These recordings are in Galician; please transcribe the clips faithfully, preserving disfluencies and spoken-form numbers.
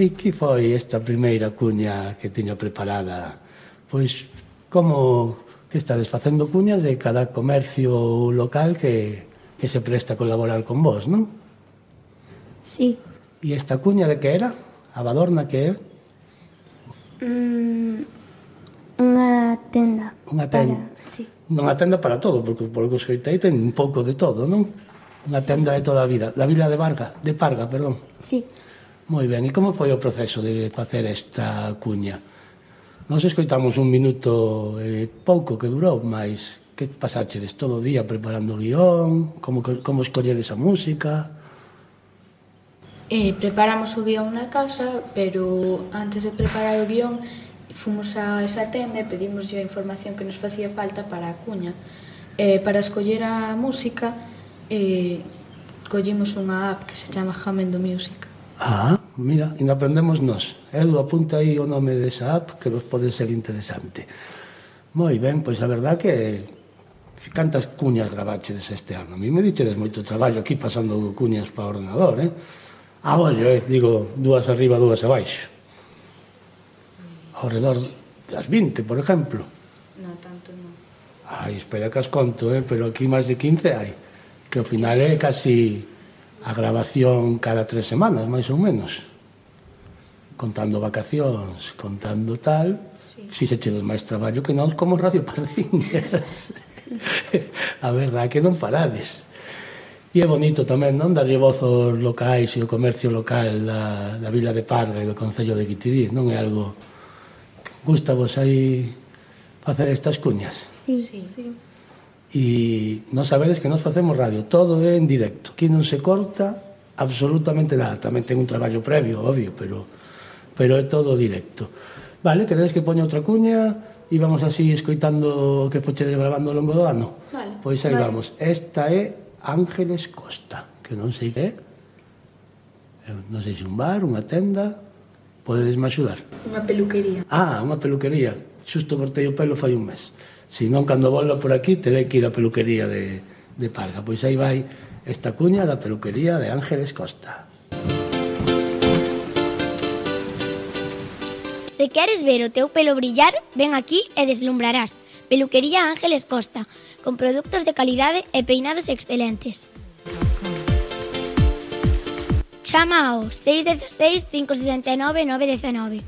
E que foi esta primeira cuña que tiña preparada? Pois, como que estades facendo cuñas de cada comercio local que, que se presta a colaborar con vos, non? Sí. E esta cuña de que era? A Badorna que é? Mm, unha tenda. Unha tenda. Para, sí. Unha tenda para todo, porque por que os coitei ten un pouco de todo, non? Unha tenda de toda a vida. Da vila de Varga, de Parga, perdón. Sí. Moi ben, e como foi o proceso de facer esta cuña? Nos escoitamos un minuto e pouco que durou, mas que pasachedes todo o día preparando o guión? Como, como escolledes a música? Eh, preparamos o guión na casa, pero antes de preparar o guión fomos a esa tenda e pedimos a información que nos facía falta para a cuña. Eh, para escoller a música, eh, collimos unha app que se chama Jamendo Music. Ah, mira, ainda aprendemos nós. Edu, apunta aí o nome desa app que nos pode ser interesante. Moi ben, pois a verdad que cantas cuñas gravachedes este ano. A mí me dichedes moito traballo aquí pasando cuñas para o ordenador, eh? A ollo, eh? Digo, dúas arriba, dúas abaixo. Ao redor das vinte, por exemplo. Non, tanto non. Ai, espera que as conto, eh? Pero aquí máis de quince hai. Que ao final é casi a grabación cada tres semanas, máis ou menos. Contando vacacións, contando tal, sí. Si se chedes máis traballo que non como Radio Pardiñas. A verdade que non parades. E é bonito tamén, non? Darlle voz aos locais e o comercio local da, da vila de Parga e do concello de Guitiriz, non é algo que gusta vos aí facer estas cuñas? Sí, sí, sí. E non sabedes que nos facemos radio, todo é en directo, aquí non se corta absolutamente nada, tamén ten un traballo previo, obvio, pero, pero é todo directo. Vale, queredes que poña outra cuña e vamos así escoitando o que fochedes grabando ao longo do ano? Vale. Pois aí Vale. vamos, esta é Ángeles Costa, que non sei que é, non sei se un bar, unha tenda, podedesme axudar? Unha peluquería. Ah, unha peluquería, xusto cortei o pelo fai un mes. Se non, cando volva por aquí, terei que ir á peluquería de, de Parga. Pois aí vai esta cuña da peluquería de Ángeles Costa. Se queres ver o teu pelo brillar, ven aquí e deslumbrarás. Peluquería Ángeles Costa, con produtos de calidade e peinados excelentes. Chama ao seis uno seis, cinco seis nove, nove uno nove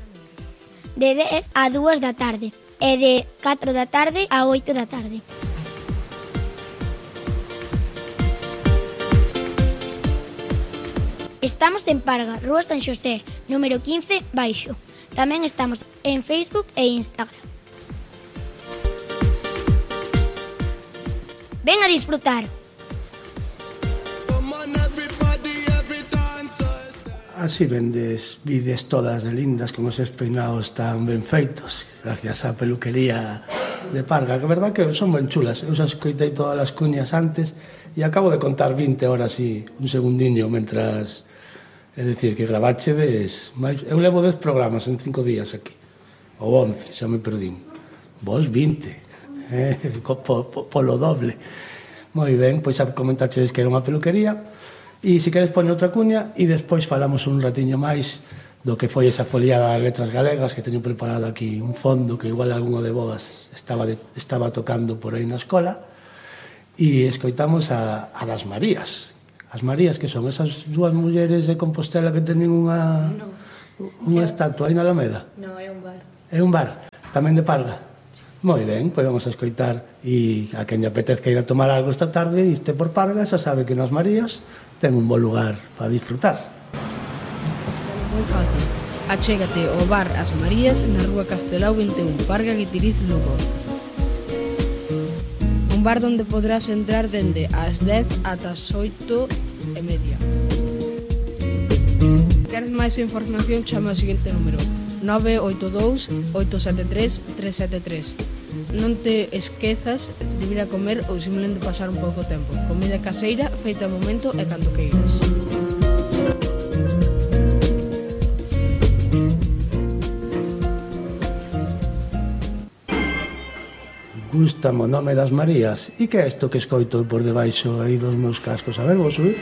de dez a dúas da tarde e de catro da tarde a oito da tarde. Estamos en Parga, Rúa San Xosé, número quince, baixo. Tamén estamos en Facebook e Instagram. Ven a disfrutar. Así vendes vides todas de lindas con os peinados tan ben feitos, gracias á peluquería de Parga, que é verdad que son ben chulas. Eu xa escoitei todas as cuñas antes e acabo de contar vinte horas e un segundiño mentras, é dicir, que graváchedes máis. Eu levo dez programas en cinco días aquí, ou once, xa me perdín. Vos vinte, eh? po, po, polo doble. Moi ben, pois xa comentachedes que era unha peluquería. E se queres poñer outra cuña e despois falamos un ratiño máis do que foi esa foliada das letras galegas, que teño preparado aquí un fondo que igual algunha de vos estaba, de, estaba tocando por aí na escola, e escoitamos a, a das Marías. As Marías, que son esas dúas mulleres de Compostela que teñen unha, no. unha estatua aí na Alameda. No, é un bar. É un bar, tamén de Parga. Moi ben, pois vamos a escoitar, e a quen lle apetezca ir a tomar algo esta tarde e este por Parga, xa sabe que nas Marías ten un bo lugar para disfrutar. Moi fácil. Achégate ao bar As Marías na rúa Castelao vinte e un, Parga, Guitiriz, Lugo. Un bar onde podrás entrar dende as dez ata as oito e media. Queres máis información, chama ao seguinte número: nove oito dous, oito sete tres, tres sete tres. Non te esquezas de vir a comer ou simplemente pasar un pouco tempo. Comida caseira, feita ao momento e cando queiras. Gústame o nome das Marías. E que é isto que escoito por debaixo aí dos meus cascos? A ver, vou subir.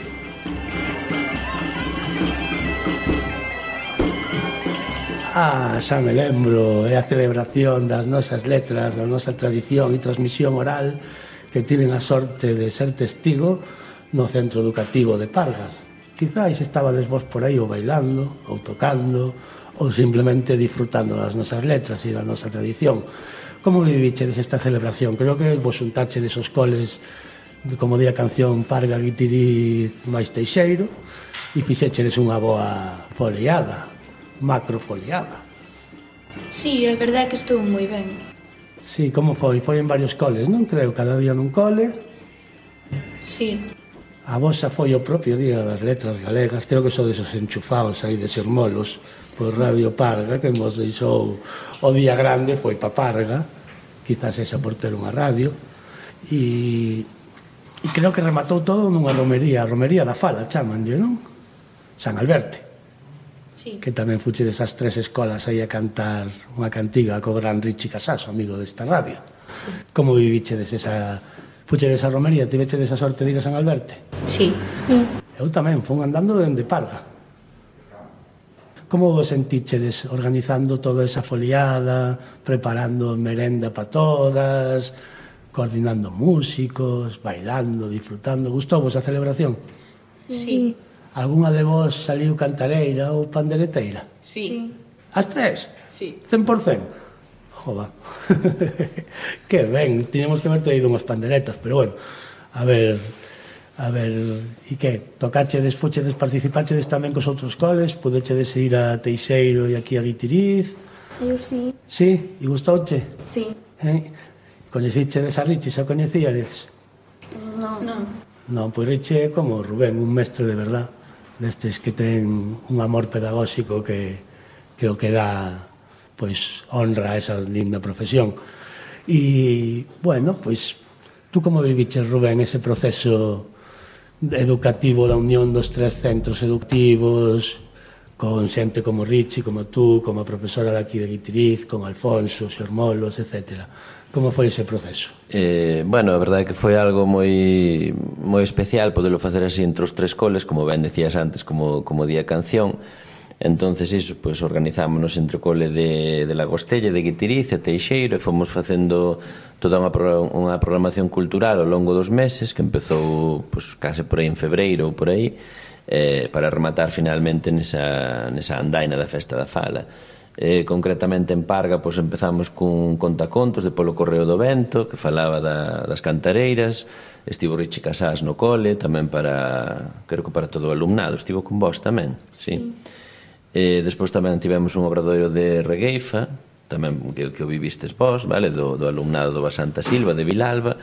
Ah, xa me lembro, é a celebración das nosas letras, da nosa tradición e transmisión oral que tiven a sorte de ser testigo no centro educativo de Pargas. Quizáis estabades vos por aí ou bailando, ou tocando, ou simplemente disfrutando das nosas letras e da nosa tradición. Como vivichedes esta celebración? Creo que vos xuntache desos coles, de, como di a canción, Parga, Guitiriz, máis Teixeiro, e fixechedes unha boa foliada, macrofoliada. Sí, é verdade que estou moi ben. Sí, como foi? Foi en varios coles, non creo? Cada día nun cole. Sí. A vosa foi o propio día das letras galegas. Creo que son desos enchufados aí de Sermolos por Radio Parga, que nos deixou o día grande, foi pa Parga, quizás esa por ter unha radio, e, e creo que rematou todo nunha romería, a romería da Fala, chamanlle, non? San Alberte. Sí. Que tamén fuche desas tres escolas aí a cantar unha cantiga co gran Richi Casaso, amigo desta radio. Sí. Como viviche des esa... Fuche desa romería, tiveche desa sorte de ir a San Alberte? Sí. Eu tamén, fun andando dende Parga. Como vos sentíchedes organizando toda esa foliada, preparando merenda para todas, coordinando músicos, bailando, disfrutando? Gustou vos a celebración? Sí. Algúna de vos saliu cantareira ou pandereteira? Sí. As tres? Sí. cen por cen? Jova. Que ben, tiñamos que haber traído unhas panderetas, pero bueno, a ver, a ver, e que? Tocachedes, fuchedes, participachedes tamén cos outros coles? Pudechedes ir a Teixeiro e aquí a Guitiriz? Eu sí. Sí? E gustouche? Sí. Eh? Coñecichedes a Richi, xa coñecíades? No. Non. Non, pois Richi é como Rubén, un mestre de verdad, destes que ten un amor pedagóxico que, que o que dá pois honra a esa linda profesión. E, bueno, pois tú como viviches, Rubén, ese proceso educativo da unión dos tres centros educativos con xente como Richi, como tú, como a profesora daqui de Guitiriz, con Alfonso, Xermolos, etcétera? Como foi ese proceso? Eh, bueno, a verdade é que foi algo moi moi especial podelo facer así entre os tres coles, como ben decías antes, como, como día canción. Entonces, iso, pois, organizámonos entre o cole de, de Lagostella, de Guitiriz e Teixeiro, e fomos facendo toda unha, unha programación cultural ao longo dos meses, que empezou, pois, case por aí en febreiro ou por aí, eh, para rematar finalmente nesa, nesa andaina da Festa da Fala. Eh, concretamente en Parga, pois, empezamos cun contacontos de Polo Correo do Vento, que falaba da, das cantareiras. Estivo Richi Casás no cole, tamén para, creo que para todo o alumnado. Estivo con vos tamén, sí. sí. Eh, despois tamén tivemos un obradoiro de regueifa, tamén que, que o vivistes vos, vale, do, do alumnado do Basanta Silva, de Vilalba,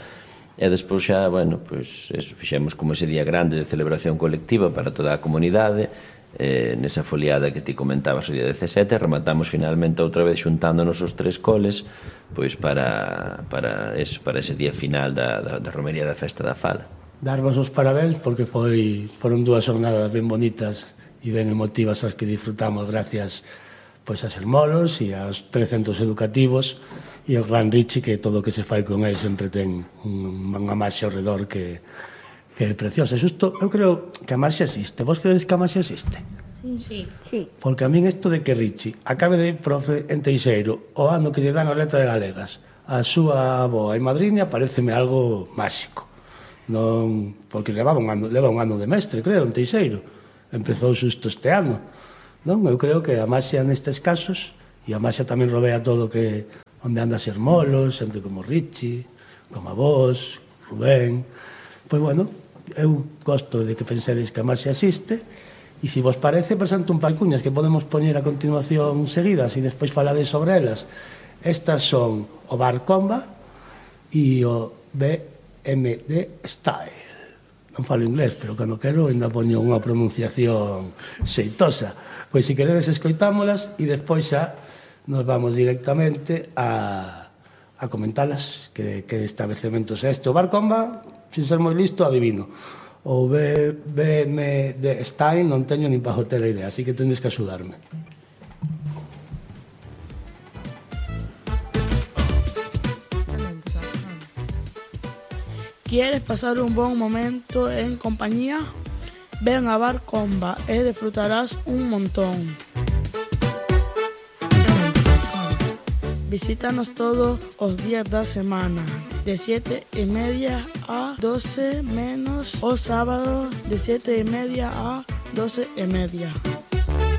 e despois xa, bueno, pois eso, fixemos como ese día grande de celebración colectiva para toda a comunidade, eh, nesa foliada que ti comentabas o día dezasete, rematamos finalmente outra vez xuntándonos os tres coles, pois para, para, eso, para ese día final da, da, da romería da Festa da Fala. Darvos os parabéns porque foi, foron dúas jornadas ben bonitas e ben emotivas as que disfrutamos gracias pois a Sermolos e aos tres centros educativos e ao gran Richi, que todo o que se fai con él sempre ten unha marxa ao redor que, que é preciosa. Xusto, eu creo que a marxa existe. Vos credes que a marxa existe? Sí. Sí. Sí. Porque a min isto de que Richi acabe de profe en Teixeiro o ano que lle dan as letras galegas a súa avoa e madriña pareceme algo máxico. Non, porque levaba un ano, leva un ano de mestre, creo, en Teixeiro. Empezou xusto este ano, non? Eu creo que a maxia nestes casos, e a maxia tamén rodea todo que onde anda Sermolos, xente como Richi, como a vos, Rubén. Pois, bueno, eu gosto de que pensedes que a maxia existe, e se vos parece, presento un par de cuñas que podemos poñer a continuación seguidas e despois falades sobre elas. Estas son o Bar Comba e o B M D Style. Non falo inglés, pero cando quero ainda poño unha pronunciación xeitosa. Pois se queredes escoitámolas e despois xa nos vamos directamente a, a comentalas que, que establecementos é este. O Bar Comba, sin ser moi listo, adivino. O B M D Style non teño nin para joter a idea, así que tendes que axudarme. ¿Quieres pasar un buen momento en compañía? Ven a Bar Comba e disfrutarás un montón. Visítanos todos os días da semana, de siete e media a doce menos, o sábado de siete e media a doce e media.